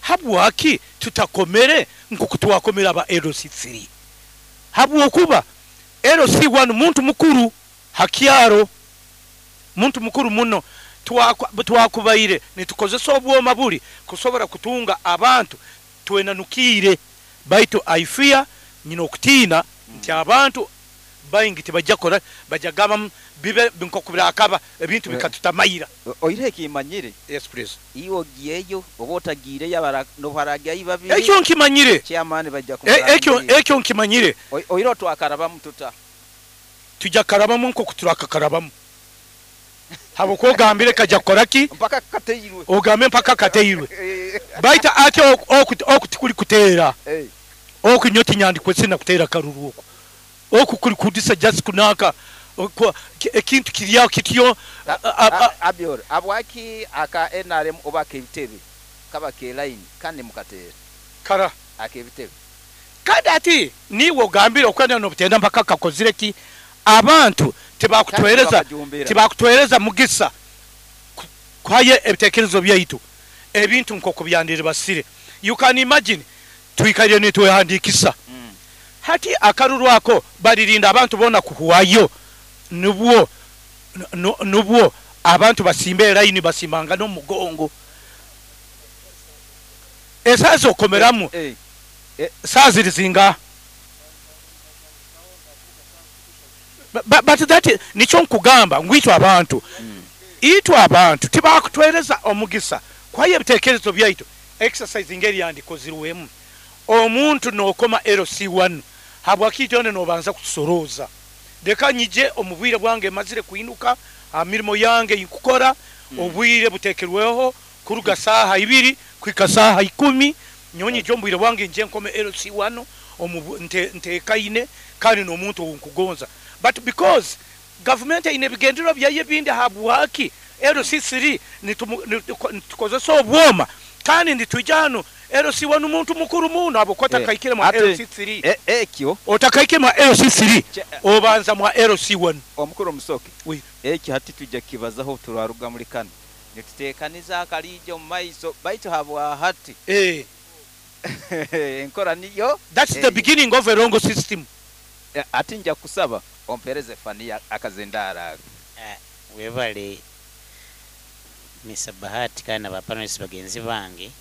Habwaki tutakomere nkuku twakomera aba LC3? Habwokuba LC1 muntu mukuru hakyaro, muntu mukuru muno. Twakubaire nitukozesa obwoma buli kusobora kutunga abantu twenanukire. Baitu aifia nyina okutiina nti abantu baingi tibajja kora, bajja gamba bibe nkokubira ebintu bikatutamaira. Oire ekimanyire. Yes please. Iwo ogiyeyo oba otagiire yabara no baragya babiri. Ekyo nkimanyire. Chairman bajja kumurangirira. Ekyo nkimanyire. Oire twakarabamu tuta. Tujja karabamu nkokuturakakarabamu. Habo kogambire kajja koraki mpaka kateirwe. Ogambe mpaka kateirwe. Baita ate okutikuli kuteera. Okunyoti nyandikwe sina kuteera karuru oko. Oku kuli kudisa just kunaka ekintu kirya kityo. Abior abwaki aka NRM oba kebitebe kaba ke line kandi mukateera kara akebitebe kandi ati niwe ogambire okwenda no butenda mpaka kakozire ki abantu tibakutwereza mugisa kwaye ebitekerezo byaitu ebintu nkoko byandire basire. You can imagine tuikalire nitwehandikisa. Hati akaruru ako balirinda abantu bona kuhuwayo nubwo nubwo abantu basimbe line basimanga no mugongo. Esazo komeramu saziri zinga. But that nicho nkugamba ngwitwa abantu. Itwa abantu tibakutwereza omugisa kwaye ebitekerezo byaitu exercise ngeri yandikozirwemu. Omuntu nokoma LC1 habwakitone nobanza kutusoroza. Deka nyije omubwire bwange mazire kuinuka amirimo yange ikukora. Obwire butekerweho kuruga saha 2 kwika saha 10 nyonyi jombwire bwange nje nkome LC1 ntekaine kandi nomuntu nkugonza. But because government ine bigendero byaye bindi habwaki LC3 nitukozesa obwoma kandi nditujano LC1 muntu mukuru muno abo kwata kaikire mwa LC3 ekyo otakaike mwa LC3 obanza mwa LC1 omukuru musoke ekyo hati tujja kibazaho turaruga muri kano nitutekaniza akalije mu maiso baitu habwa hati enkora niyo. That's the beginning of a wrong system. Ati nja kusaba ompereze fania akazendara. Webale Mr. Bahati kana ba panelists bagenzi bange.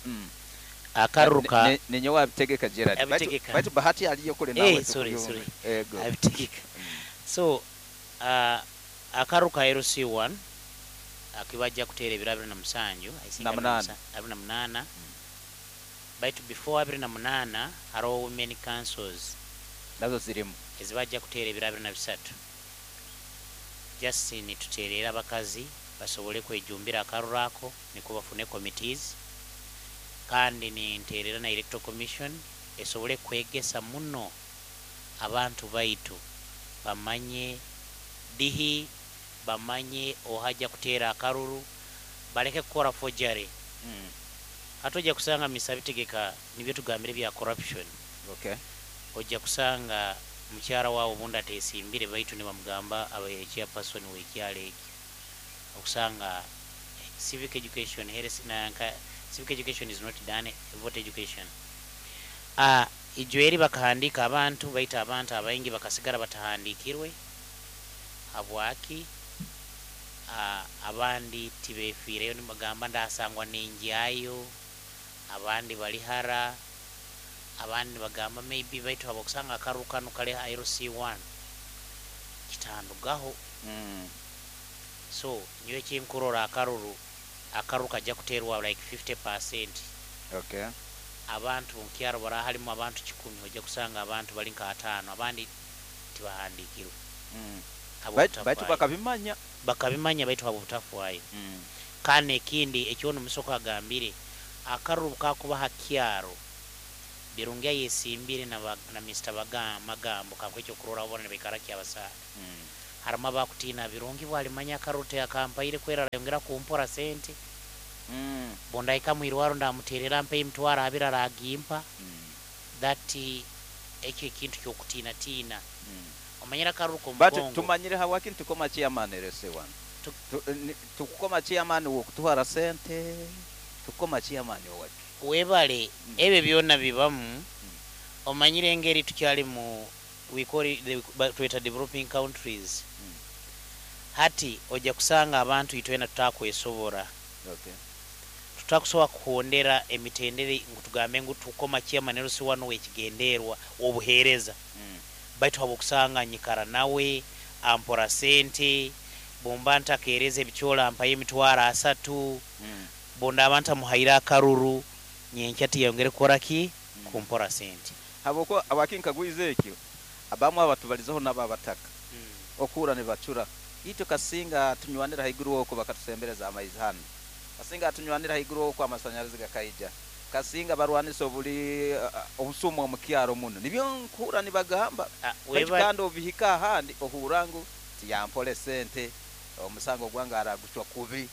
Akaruka ninyo wabitegeka Gerard. Baitu Bahati aliyo kule nawe. Sorry. Abitegeka. So akaruka LC1 akibajja kuteera ebiro 27 I think 28. Baitu before 28 haro women councils nazo zirimu ezibajja kuteera ebiro 23. Just nituteerera abakazi basobole kwejumbira akarurako niko bafune committees kandi ninteerera na electoral commission esobole kwegesa muno abantu baitu bamanye dihi bamanye ohaja kuteera akaruru baleke kukora forgery. Hatoja kusanga misabitegeka nibyo tugambire bya corruption. Okay. Ojja kusanga mukyara wawo bunda tesimbire baitu ne bamugamba abaye chairperson w'ekyalo ekyo. Okusanga civic education heres na civic education is not done, vote education. Ijweri bakahandika abantu baita abantu abaingi bakasigara batahandikirwe habwaki abandi tibefiireyo nibagamba ndasangwa nenjayo abandi balihara abandi bagamba maybe baitu abakusanga akarukano kale LC1 kitandugaho. So nyowe kinkurora akaruru akaruka kuterwa like 50%. Okay. Abantu nkyaro bara halimu abantu 10 ojja kusanga abantu bali nka 5 abandi tibahandikirwe. Baitu bakabimanya baitu abo butafwayo. Kane ekindi ekyono musoko agambire akaruru kakuba hakyaro Birungi ayesimbire na, na Mr. Magambo kankuhe ekyokurorraho bona nibaikara Kyabasaale. Harimu abakutiina Birungi bwalimanya akaruru akampaire kwera arayongera kumpora sente. Bundahika mwirwaro ndamuterera ampe emitwaro abiri aragimpa. That ekyo ekintu kyokutiina tiina. Omanyire akaruru But k'omugongo. Tumanyire habwaki nitukoma chairman LC1. Tukukoma chairman wokutuhara sente, tukukoma chairman owaki? Webale, ebyo byona bibamu. Omanyire engeri tukyali mu we call it the, tweta developing countries. Hati ojja kusanga abantu itwena tutakwesobora. Tutakusobola kuhondera emitendere ngu tugambe ngu tukoma chairman LC1 wekigenderwa obuheereza. Baitu habwokusanga nyikara nawe ampora sente, bumba ntakeereza ebicyola mpayo emitwaro 30, bundaba ntamuhaire akaruru nyenkya tiyongere kukora ki? Kumpora sente. Habwokuba abakinkagwize ekyo abamu abatubalizeho nabo abataka okuhura nibacura itwe kasinga tunywanira haiguru okwo bakatusembereza amaizi hanu, kasinga tunywanira haiguru okwo amasanyarazi gakaija, kasinga barwanisa obuli obusumu omu kyaro muno, nibyo nkuhura nibagamba. Baitu kandi obihika ahandi ohura ngu tiyampora esente, omusango gwange aragucwa kubi.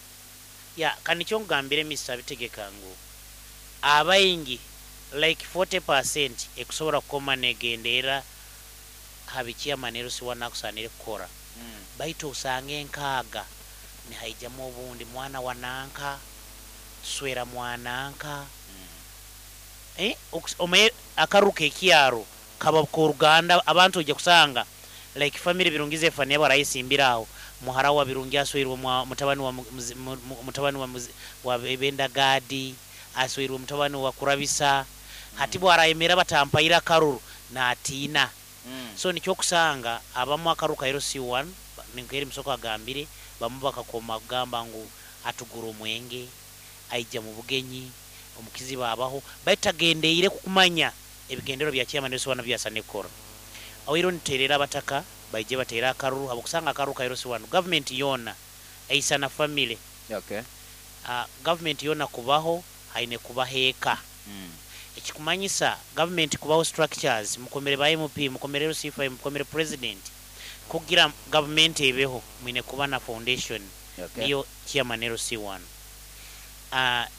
Ya, kanikyo nkugambire Mister Bitegeka ngu abaingi like 40% ekusobora kukoma negendeera ha bi chairman LC1 akusanire kukora. Baitu osange enkaaga nihaijamu obundi mwana wa nanka, tuswera mwananka. Omaye akaruru k'ekyaro kaba k'oruganda, abantu ojja kusanga like family Birungi Zephania barayesimbira aho, muhara wa Birungi asweirwe mutabani wa mutabani wa wa Bendagadi, asweirwe mutabani wa Kurabisa. Hati bwarayemera batampaire akaruru natiina. So nikyo kusanga abamu akaruru ka LC1 ninkeri Musoko agambire, bamu bakakoma kugamba ngu atugura omwenge, aija mu bugenyi, omukizi babaho, baitu tagendeire kukumanya ebigendero bya chairman LC1 byasane kukora. Oiro niterera abataka baije bateera akaruru, habwokusanga akaruru ka LC1 government yona eisana family. Government yona kubaho haine kubaho eka. Ekikumanyisa government kubaho structures, mukomere ba MP, mukomere LC5, mukomere president, kugira government ebeho mwine kuba na foundation. Niyo chairman LC1.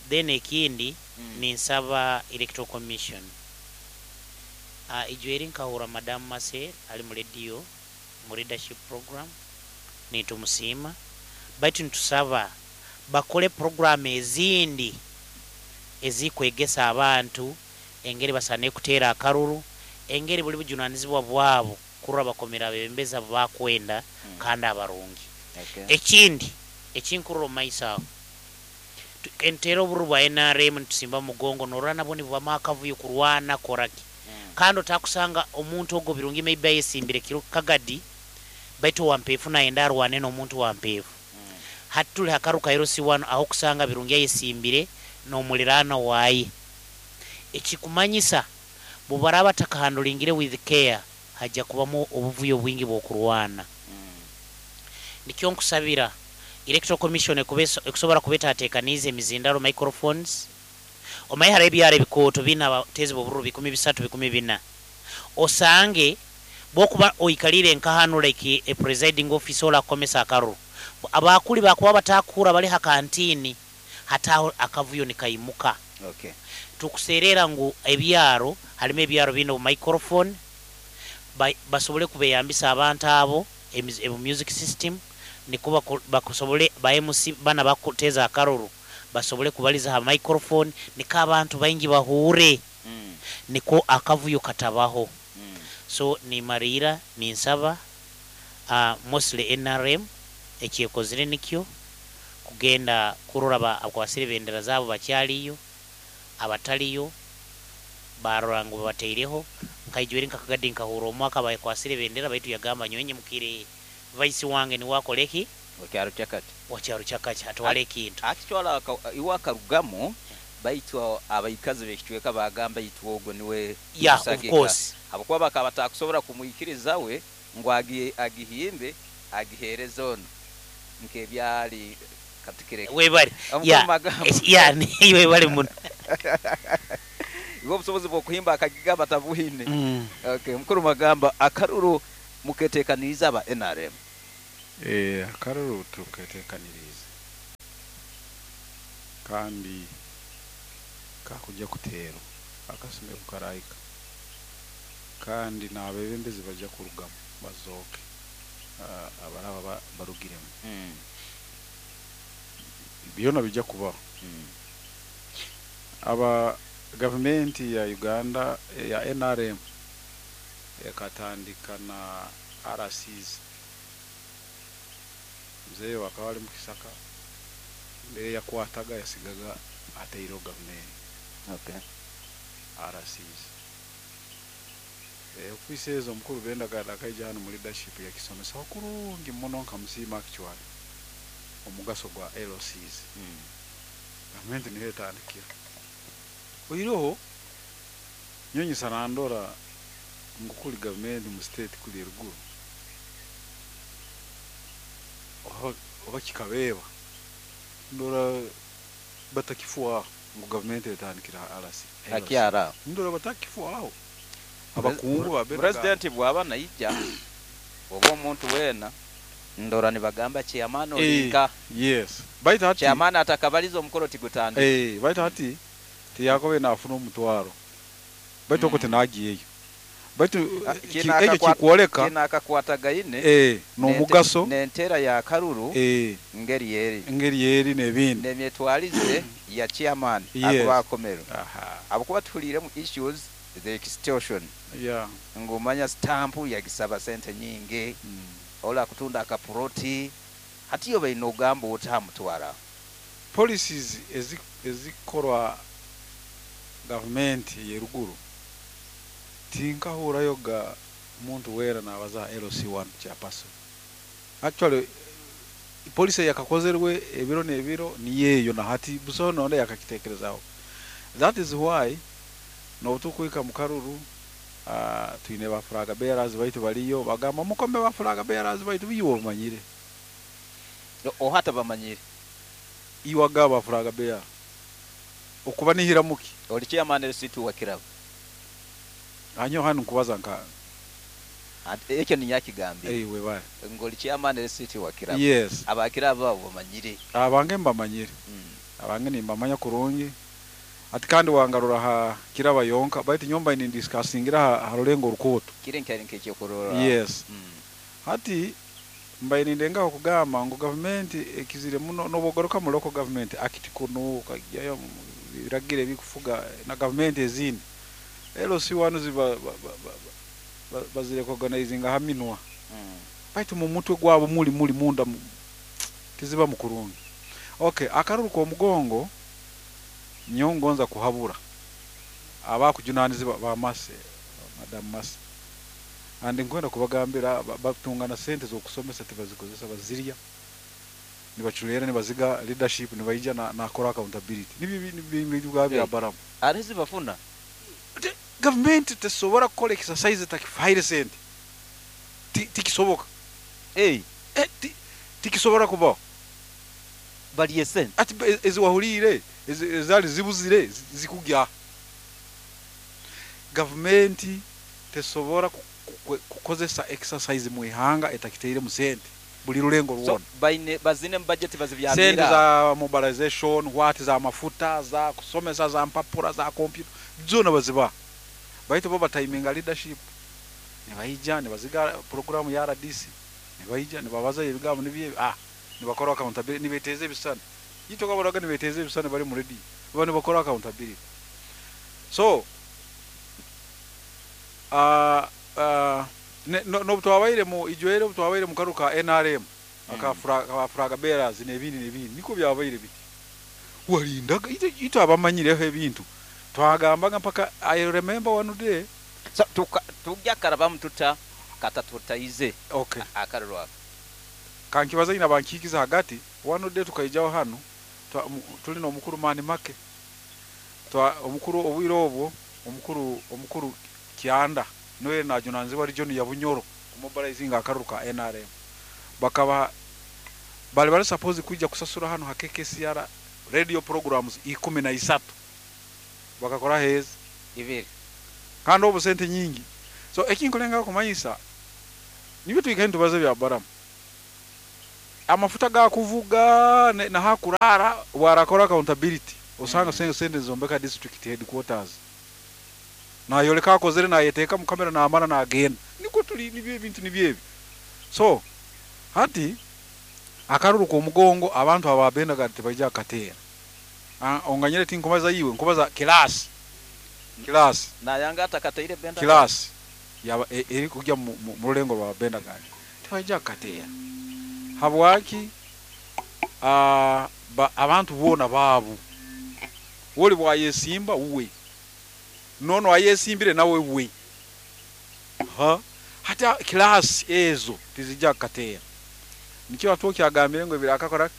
Then ekindi, ninsaba Electoral Commission. Ijo eri nkahura Madam Marcel ali mu radio mu leadership program, nitumusiima, baitu nitusaba bakole program ezindi ezikwegesa abantu engeri basane kuteera akaruru, engeri buli bujunanizibwa bwabo kurora bakomera abebembezi abo bakwenda kandi abarungi. Ekindi ekinkurora omu maiso aho, enteera obururu bwa NRM nitusimba mugongo, norora nabwo nibubamu akavuyo kurwana koraki. Kandi otakusanga omuntu ogwo Birungi maybe ayesimbire kiro Kagadi, baitu owampeefu nayenda arwane n'omuntu wampeefu. Hati tuli hakaru ka LC1 aho kusanga Birungi ayesimbire n'omuliraano waye. Ekikumanyisa bubaraba takahandulingire with care, hajja kubamu obuvuyo bwingi bw'okurwana. Nikyo nkusabira Electoral Commission ekusobora kubetatekaniize emizindaro microphones. Omaye hariho ebyaro ebikooto biine abateezi b'obururu 300, 400. Osange bwokuba oikalire nka hanu like a presiding officer orakukomesa akaruru, abakuli bakuba batakuhura bali ha kantini, hataho akavuyo nikaimuka. Tukuserera ngu ebyaro harimu ebyaro biine obu microphone, basobole kubeyambisa abantu abo ebu music system, niko bakusobole ba MC bana bakuteza akaruru basobole kubaliza ha microphone, niko abantu baingi bahure, niko akavuyo katabaho. So nimarira ninsaba mostly NRM ekyekozire nikyo kugenda kurora abakwasire bendera zabo bakyaliyo, abataliyo barora ngu babateireho. Nkaijwere nkakagadi nkahura omwaka bakwasire bendera, baitu yagamba nyowe nyimukire vice wange niwe akoleki Wakyaro kyakati. Wakyaro kyakati atwale ekintu. Akitwala iwe akarugamu, baitu abaikazi b'ekicweka bagamba itwe ogwo niwe Of course. Habwokuba bakaba batakusobora kumwikiriza we ngu agihimbe agihereze ono nk'ebyali katukireke. Webale. Omukuru Magambo. Ya, webale muno. Iwe obusobozi bw'okuhimba akagiga batabuhine. Okay, mukuru magamba akaruru muketekaniriza aba NRM. Akaruru tuketekanirize kandi kakujya kuterwa akasime kukarahika kandi n'abebembezi bajya kurugamu bazooke abaraba barugiremu. Byona bijya kubaho. Aba gavumenti ya Uganda ya NRM ekatandika na RCs. Mzee wakaba ali mu kisaka mbere yakwataga yasigaga ateireho gavumenti. RCs. Ofiisi ezo omukuru Benda akaija hano mu leadership yakisomesaho kurungi muno nkamusiima actually omugaso gwa LCs. Gavumenti niyo etandikira. Oiroho nyonyesa nandora ngu kuli gavumenti mu state kuli eruguru oba kikabeeba ndora batakifwaho ngu gavumenti etandikira RC. Hakyara. Ndora batakifwaho. Abakungu ba Benda President bwaba naija oba omuntu wena ndora nibagamba chairman olinka. Yes. Baitu hati chairman atakabaliza omukoro tigutandika. Baitu hati tiyakobe nafuna omutwaro. Baitu oko tinagiyeyo. Baitu ekyo kikwoleka kina akakwatagaine n'omugaso n'entera ya karuru ngeri yeri. Ngeri yeri n'ebindi. N'emyetwalize ya chairman akuba akomero. Abakuba tuhuliremu issues the extortion. Ngumanya stamp yagisaba sente nyingi. Ola kutunda akaproti hatiyo baino ogamba otamutwara. Policies ezikorwa government yeruguru tinkahurayo ga muntu wera nabaza LC1 chairperson. Actually policy yakakozerwe ebiro n'ebiro niyeyo na hati busoho nonde yakakitekerezaho. That is why nobutukwika mu karuru twine ba flag bearers baitu baliyo bagamba mukome ba flag bearers baitu biyo bamanyire. Ohata bamanyire. Iwaga ba flag bearer. Okuba nihira muki. Oli chairman LC2 wa kirabo. Anyo hanu nkubaza nka ekyo ni yakigambye. We bale. Ngoli chairman LC2 wa kirabo. Yes. Abakirabo abo bamanyire. Abange mbamanyire. Abange nimbamanya kurungi. Ati kandi wangarura ha kiraba yonka baitu nyomba ini discussingira ha rulengo rukoto. Kire nkari nkekyo kurora. Yes. Hati mbaye nindengaho kugamba ngu government ekizire muno nobogoroka mu local government akiti kuno kajayo biragire bikufuga na government ezindi. LC1 ziba bazire organizing haminwa. Baitu mu mutwe gwabo muli munda tiziba mukurungi. Okay, akaruru ko mugongo nyongonza kuhabura abakujunaniziba ba mase madam mase andi nkwenda kubagambira batungana sente zo kusomesa tibazikozesa bazirya nibachulera nibaziga leadership nibaija na kora accountability nibi bya baramu arezi bafuna government tesobora kukola exercise takifaire sente tikisoboka tikisobora kuba baliye sente ati eziwahulire ezali zibuzire zikugya. Government tesobora kukozesa exercise mu ihanga etakiteire mu sente buli rulengo ruwona. So baine bazine budget bazibyamira sente za mobilization what za mafuta za kusomesa za mpapura za computer zona baziba. Baitu bo batiminga leadership nibaija nibaziga program ya RDC nibaija nibabaza ebigambo nibiye nibakora accountability nibeteze ebisana yito kaboraga nibeteze ebisana bali mu ready baba nibakora accountability. So no twabaire mu ijwere twabaire mu karuka NRM aka flag bearers n'ebindi n'ebindi niko byabaire biti walindaga ito abamanyireho ebintu twagambaga mpaka I remember one day so tujya karabamu tuta kata tutaize. Okay. Akarurwa kankibaza ina bankikiza hagati one day tukaijaho hano tuli no mukuru mani make twa omukuru obwiro obwo omukuru Kianda noye najunanzibwa region ya Bunyoro mobilizing akaruka NRM bakaba bali bali suppose kuja kusasura hano ha KKCR radio programs 13 bakakora hezi Ibiri. Kandi obu sente nyingi. So ekinkulengaho kumanyisa nibyo twikaire nitubaza ebya Baramu. Amafuta gakuvuga nahakurara warakora accountability osanga sente zombeka district headquarters. Nayoleka akozere nayeteeka mu kamera namara nagenda. Niko tuli nibyo ebintu nibyo ebi. So hati akaruru k'omugongo abantu ababendaga tibaija kateera. Onganyire tinkubaza iwe nkubaza class. Class. Nayanga atakateire benda. Class yaba eri kujya mu rulengo rwa bendaga. Tibaija kateera. Habwaki abantu boona baabu. Woli bwayesimba uwe. Nono ayesimbire nawe we. Ha hata class ezo tizija kateera. Nikyo atuki agambire ngo birakakora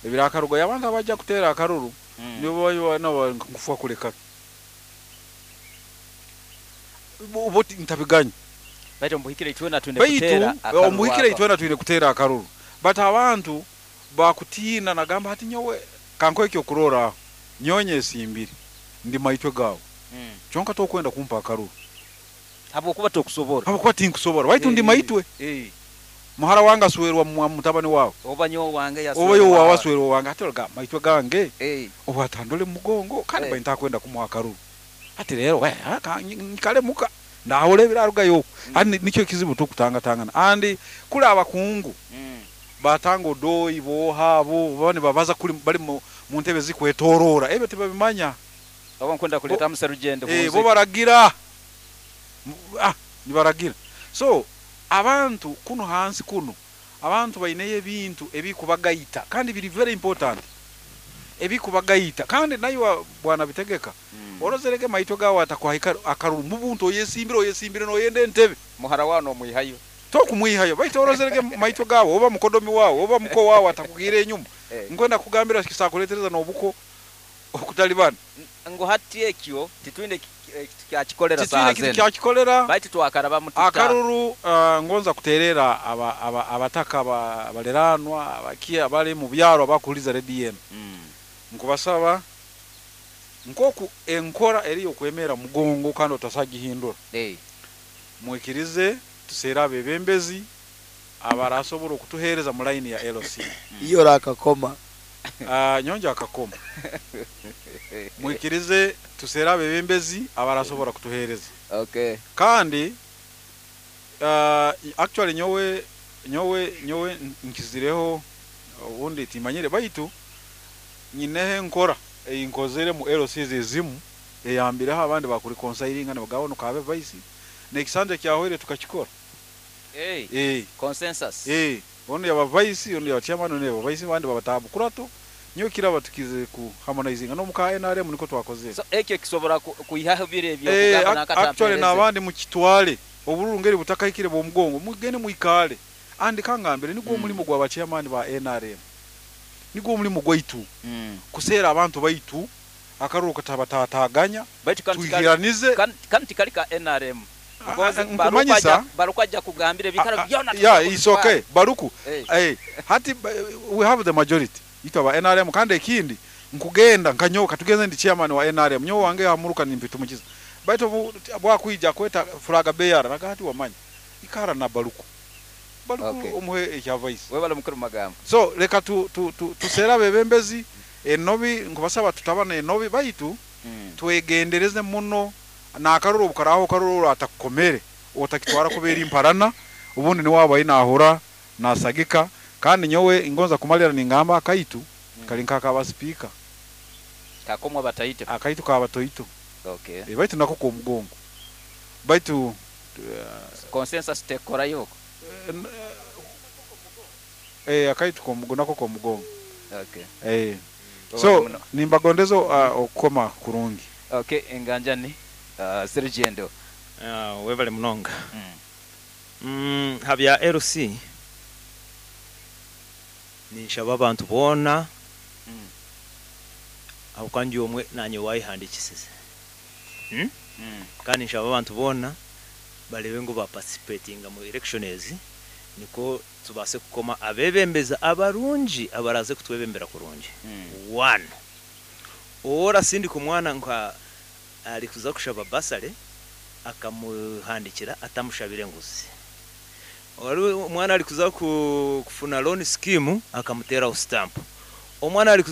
ebirakarugo abantu abajja kutera akaruru nibo nabo nkufuwa kuleka. Boti ntabiganya. Baitu mbuhikire itwena twine kutera akaruru. Mbuhikire itwena twine kutera akaruru. But abantu bakutina nagamba hati nyowe kanko ekyo kurora nyonye esimbiri ndi maitwe gawo. Kyonka tokwenda kumpa akaruru. Habwokuba tokusobora. Habwokuba tinkusobora. Baitu ndi maitwe. Muhara wanga aswerwa mutabani wawe. Oba nyo wange yaswerwa. Oba yo wawe aswerwa wange ati ga maitwe gange. Oba atandole mugongo kandi mm. Bainta kwenda kumuha akaruru. Ati rero we nkale muka ndahole biraruga yo. Ani nikyo kizibu tukutanga tangana. Andi kula abakungu. Batanga odoi boha bo bane babaza kuli bali mu ntebe zikwetorora. Ebyo tebabimanya. Abo nkwenda kuleta muserugendo. Bo baragira. Nibaragira. So abantu kuno hansi kuno abantu baineye ebintu ebikubagaita kandi biri very important ebikubagaita kandi nayo bwana bitegeka orozerege maito gawo atakwahika akaruru mubuntu oyesimbire noyende entebe muhara wano omwihayo tokumwihayo baito orozerege maito gawo oba mukodomi wawo oba muko wawo atakugire enyuma nkwenda kugambira kisakuletereza nobuko okutalibana ngo hati ekyo titwine kyakikolera saha zene kyakikolera baitu twakaraba mututa akaruru ngonza kuterera abataka abaleranwa abakia abali mu byaro abakuliza redi yenu nkubasaba nkoku enkora eri okwemera mugongo kandi otasagihindura mwikirize tusera abebembezi abarasobora okutuhereza mu line ya LC iyo rakakoma nyonja akakoma mwikirize tusera abebembezi abarasobora kutuhereza okay kandi actually nyowe nkizireho ubundi timanyire baitu nyinehe nkora einkozere mu LC ezimu eyambireho abandi bakuri conseil ne bagabo kabe vice nekisanje kyahwere tukakikora consensus ono yaba vice ono yaba chairman ono yaba vice bandi babatabu kurato nyo kiraba tukize ku harmonizing no muka NRM niko twakoze so ekyo kisobora kuihaho bire ebyo kugamba nakata actually nabandi mu kitwale obururu ngeri butakahikire bo mugongo mugende muikale andi kangambire nigwo mulimo gwa ba chairman ba NRM nigwo mulimo gwaitu kusera abantu baitu akaruru katabatataganya tuigiranize kanti kalika NRM baruku aja kugambire bikara byona yeah it's okay baruku hati we have the majority itwa NRM kandi ekindi nkugenda nkanyoka tugeze ndi chairman wa NRM nyo wange hamuruka nimpitumukiza baitu bwakwija kweta flag bearer nakati wamanya ikara na baruku okay. Omuhe ekya vice we bala mukuru magambo so leka tu tusera bebembezi enobi nkubasaba tutabana enobi baitu twegendereze muno na akaruru bukaraho karuru atakomere otakitwara kubera imparana ubundi ni waba inahura nasagika kandi nyowe ingonza kumalira ningamba akaitu kalinka akaba speaker kakomwa bataito akaitu ka batoito okay baitu nako ko mugongo baitu consensus tekora yoko akaitu ko mugongo nako ko mugongo okay so nimbagondezo okukoma kurungi okay enganjani Sergendo webale munonga habya LC ninshaba abantu bona aho kandi omwe nanye wayihandikisize kandi nshaba abantu bona barebe ngo ba participatinga mu elections niko tubase kukoma abebembeza abarungi abaraze kutwebembera kurungi one ora sindi ku mwana nka Ali kuza kushaba basale akamuhandikira atamushabire enguzi. Waliwo omwana ali kuza kufuna loan scheme akamuteraho stamp. Omwana ali